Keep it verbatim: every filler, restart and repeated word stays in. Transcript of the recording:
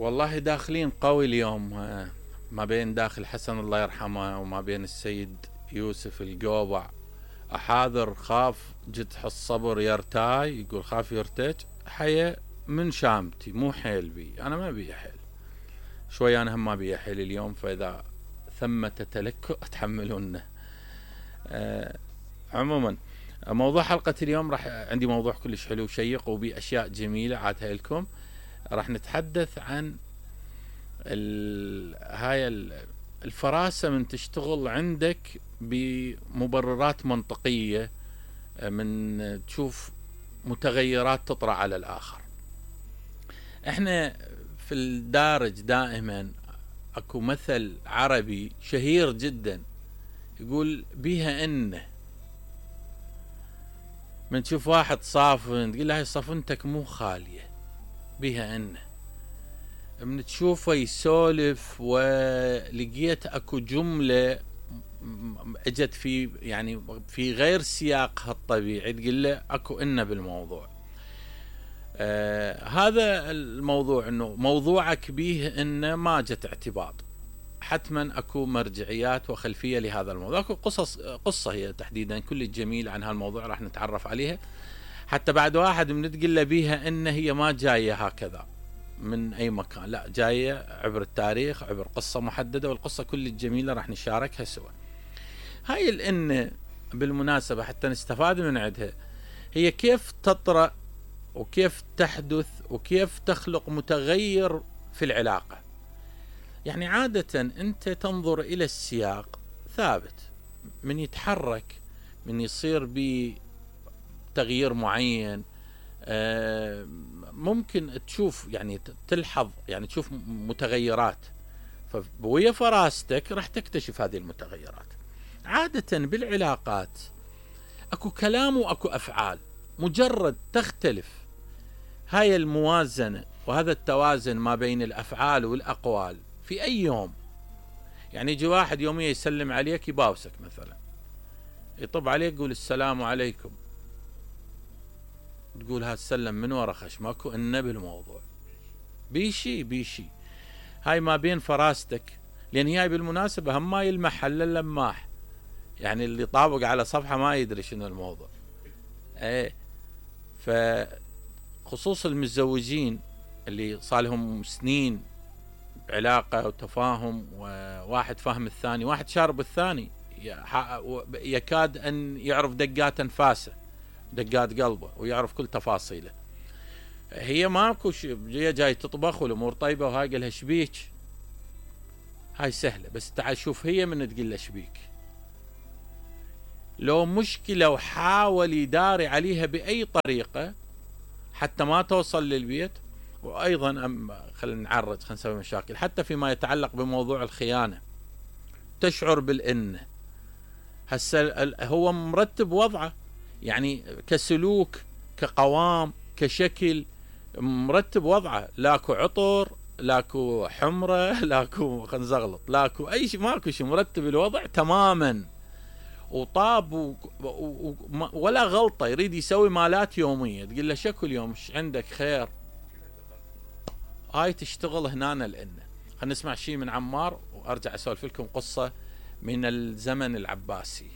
والله داخلين قوي اليوم، ما بين داخل حسن الله يرحمه وما بين السيد يوسف القوبع. أحاذر خاف جدح الصبر يرتاي، يقول خاف يرتج حيا من شامتي مو حيل بي. أنا ما بي حيل شوي، أنا هم ما بي حيل اليوم، فإذا ثمة تلكؤ تحملونه. أه عموما موضوع حلقة اليوم راح عندي موضوع كلش حلو وشيق وبي أشياء جميلة عادها لكم. راح نتحدث عن هاي الفراسة من تشتغل عندك بمبررات منطقية، من تشوف متغيرات تطرأ على الآخر. احنا في الدارج دائما اكو مثل عربي شهير جدا يقول بيها انه من تشوف واحد صافن تقول له هاي صفنتك مو خالية، بيها انه من تشوفه يسولف ولقيت اكو جملة اجت في يعني في غير سياقها الطبيعي تقول له اكو انه بالموضوع. آه هذا الموضوع انه موضوعك بيه انه ما جت اعتباط، حتما اكو مرجعيات وخلفية لهذا الموضوع، اكو قصص قصة هي تحديدا كل جميل عن هالموضوع راح نتعرف عليها. حتى بعد واحد من تقول له بيها ان هي ما جاية هكذا من اي مكان، لا جاية عبر التاريخ، عبر قصة محددة، والقصة كل الجميلة راح نشاركها سوا. هاي الان بالمناسبة حتى نستفاد من عندها، هي كيف تطرأ وكيف تحدث وكيف تخلق متغير في العلاقة. يعني عادة انت تنظر الى السياق ثابت، من يتحرك من يصير بتغيير معين ممكن تشوف يعني تلحظ يعني تشوف متغيرات، فبويا فراستك راح تكتشف هذه المتغيرات. عادة بالعلاقات اكو كلام واكو افعال، مجرد تختلف هاي الموازنة وهذا التوازن ما بين الافعال والاقوال في اي يوم. يعني يجي واحد يوميا يسلم عليك يباوسك مثلا، يطب عليك يقول السلام عليكم، تقول هذا السلم من ورا خش، ماكو انه بالموضوع بيشي بيشي. هاي ما بين فراستك، لان هي بالمناسبة هم ما يلمح الا اللماح، يعني اللي طابق على صفحة ما يدري شنو الموضوع. ايه فخصوص المتزوجين اللي صالهم سنين علاقة وتفاهم، وواحد فاهم الثاني، واحد شارب الثاني، يكاد ان يعرف دقات انفاسه دقات قلبه ويعرف كل تفاصيله. هي ماكو هي جاي تطبخ والامور طيبه وهاي قال لها شبيك، هاي سهله، بس تعال شوف هي من تقول له شبيك لو مشكله وحاول يداري عليها باي طريقه حتى ما توصل للبيت. وايضا خلينا نعرج خلينا نسوي مشاكل حتى فيما يتعلق بموضوع الخيانه، تشعر بالان هسه هو مرتب وضعه، يعني كسلوك كقوام كشكل مرتب وضعه، لاكو عطر لاكو حمرة لاكو خلينا نزغلط لاكو اي شيء، ماكو شيء، مرتب الوضع تماما وطاب و... و... ولا غلطة، يريد يسوي مالات يومية تقول له شكو اليوم عندك خير. هاي تشتغل هنا لأن خلينا نسمع شيء من عمار وارجع اسولف لكم قصة من الزمن العباسي.